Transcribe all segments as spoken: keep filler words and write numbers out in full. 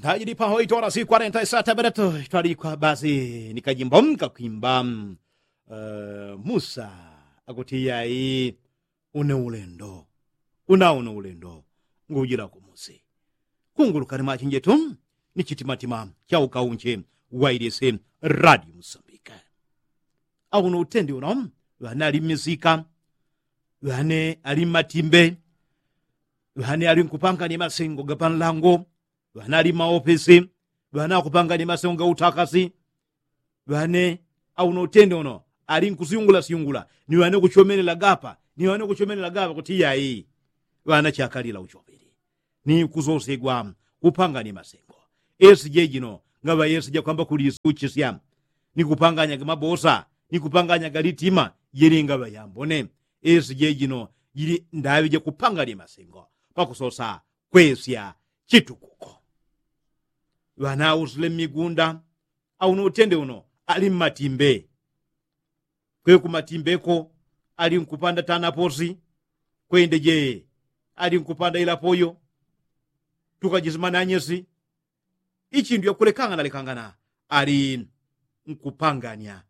Tajili paho itwala si kwarenta isata bereto itwalikwa basi ni kajimbo mkakwimba. Musa akuti yai, une ulendo, una une ulendo ngujila kumusi. Kungulukani mwachinjetu ni chitimatima cha ukaunche wailise radio musambika. Auno utendi uno ŵane ali mmisika, ŵane ali mmatimbe, ŵane ali nkupangania masengo gapanlango, ŵane ali mmaopesi, ŵane akupangania masengo gautakasi. Ŵane auno utendi uno ali nkusyungula syungula ni ŵane kuchomelela gapa ni ŵane kuchomelela gapa kuti yai, ŵane chakalila uchomeli ni kusosegwa kupangania masengo. Esi jejino ngaŵa esi jakwamba kulisuchisya ni kupanganya gamabosa ni kupanganya galitima. Jili ngaŵa yambone esi jejino jili ndaŵi jakupangania masengo pakusosa kwesya chitukuko. Ŵanausile mmigunda auno utende uno ali mmatimbe. Kwe kumatimbeko ali nkupanda tanaposi, kwende je ali nkupanda ilapoyo, tukajisimana anyesi. Ichindu yakulekangana lekangana ali nkupangania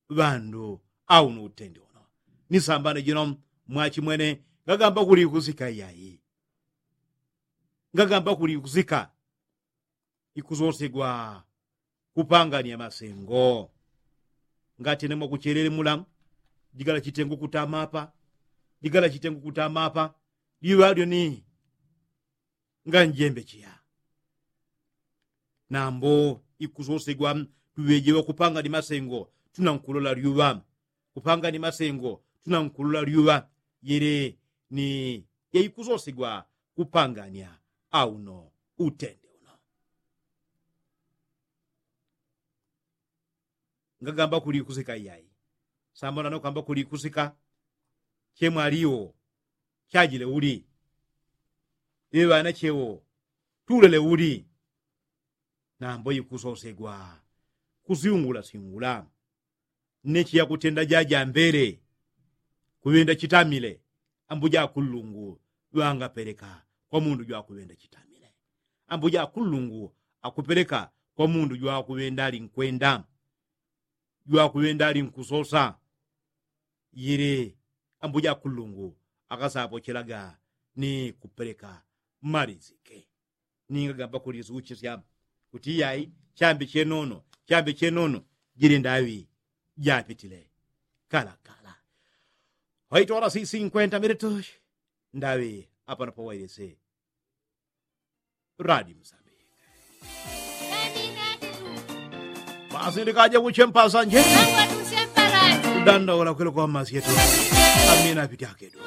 ŵandu. Auno utende uno ni sambano jino mwachimwene ngagamba kuli ikusika iyai. Ngagamba kuli ikusika ikusosegwa kupangania masengo. Ngatene mwakuchelele mula jigala chitengu kutama apa, jigala chitengu kutama apa. Liŵa lyo ni nganjembe chiya. Nambo ikusosegwa tuŵejewa kupangania masengo tunankulola lyuŵa. Kupangania masengo tunankulola lyuŵa. Yele ni yaikusosegwa kupangania auno utende uno. Ngagamba kuli ikusika iyai. Sambano nano kwamba kuli ikusika chemwaliwo chajile uli? Iŵana chewo tulele uli? Nambo ikusosegwa kusyungula syungula. Nechi yakutenda jajambele kuŵenda chitamile. Ambuja akullungu ŵangapeleka kwa mundu jwakuŵenda chitamile. Ambuja akullungu akupeleka kwa mundu jwakuŵenda ali nkwenda, jwakuŵenda ali nkusosa. Yili ambuja akullungu akasapochelaga ni kupeleka malizike. Ninga gamba kulisuchisya kuti iyai chambi chenono chambi chenono jili ndaŵi japitile kalakala. Waitwala si sinkwenta militushi ndaŵi apano pawailise radio musambika. Basi ndikaja kuchempasa nje dandaula kwele kwa masyetu. Amina apiti akedu.